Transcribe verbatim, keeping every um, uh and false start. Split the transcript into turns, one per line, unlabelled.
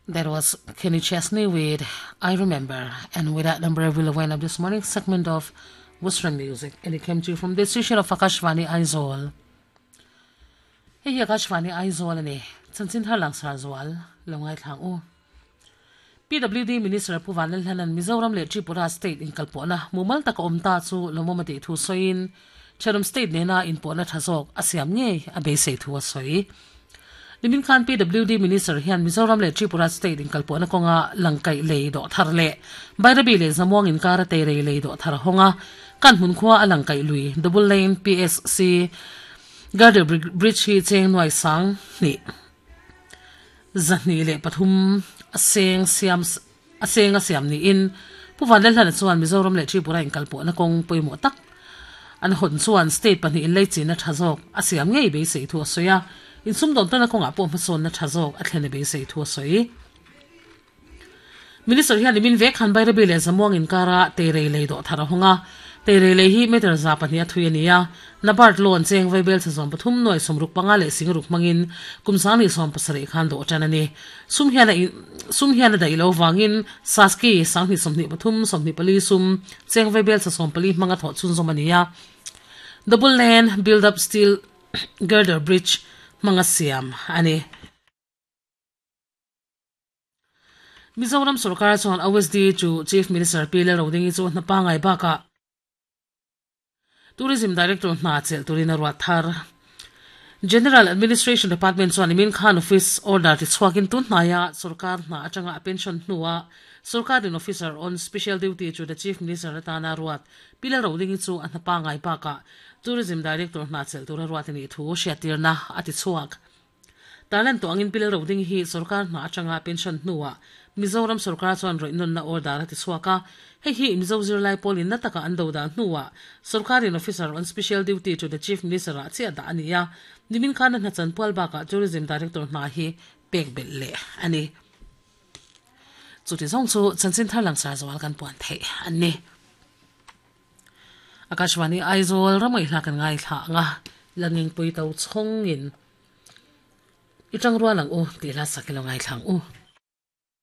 That was Kenny Chesney with I Remember. And with that number, we'll wind up this morning's segment of Western music. And it came to you from the station of Akashvani Aizawl. Hei Akashvani Aizawl ani. Chanchin thar langsar zual. Lo ngaithla ang u. P W D Minister Pu Vanlalhlanan Mizoram leh Tripura State inkalpawhna mumal taka awm ta chu lawmawm a tih thu sawiin Thenawm State nena inpawhna tha zawk a siam ngei a beisei thu a sawi. Nimin khan P W D Minister hian Mizoram leh Tripura State inkalpawhna kawnga Langkaih lei dawh thar leh Bairabi leh Zamuang inkara Teirei lei dawh thar hawnga Kanhmun khua a Langkaih lui Double Lane P S C Girder Bridge hi cheng nuai sang hnih zahnih leh pathum a seng siam a seng a siam niin Pu Vanlalhlana chuan Mizoram leh Tripura inkalpawhna kawng pawimawh tak an hawn chuan state pahnih in leichina tha zawk a siam ngei beisei thu a sawi a, insumdawn tawna kawngah pawh hmasawnna tha zawk a thlen a beisei thu a sawi. Minister hian nimin vek khan Bairabi leh Zamuang inkara Teirei lei dawh thar a hawng a. Teirei lei hi meter za pahnih a thui a ni a. NABARD loan cheng vaibel chhe sawm pathum nuai sawmruk panga leh singruk hmangin kum sangni sawm pasarih khan dawh tan a ni. Sum hian a sum hian a daih lo vangin Saski sanghnih sawmhnih pathum sawmhnih pali sum cheng vaibel chhe sawm pali hmanga thawh chhunzawm a ni a. Double lane build up steel girder bridge hmanga siam a ni. Mizoram sorkar chuan O S D chu Chief Minister Pi Lalrodingi chu hna pangai bakah Tourism Director hna chelh turin a ruat thar. General Administration Department chuan nimin khan office order ti chhuakin tun hnaia sorkar hna atanga a pension hnua sorkarin officer on special duty chu the Chief Minister atana ruat Pi Lalrodingi chu a hna pangai bakah Tourism Director hna chelh tura ruat a nih thu hriattirna a ti chhuak. Tarlan tawh angin Pi Lalrodingi hi sorkar hna atanga pension hnuah Mizoram sorkar chuan rawih nawnna order a ti chhuak a. Hei hi Mizo zirlai pawlin na taka an do dan hnuah sorkarin officer on special duty to the Chief Minister ah chiah dah a ni a. Nimin khan a hna chanpual bakah Tourism Director hna hi pek belh leh a ni. Chuti zawng chu chanchin thar langsar zual kan puan theih an ni. Akashvani Aizawl ramawih hla kan ngaithla ang a, Langingpui to chhawngin i tangrual ang u tih hla sak i lo ngaithla ang u.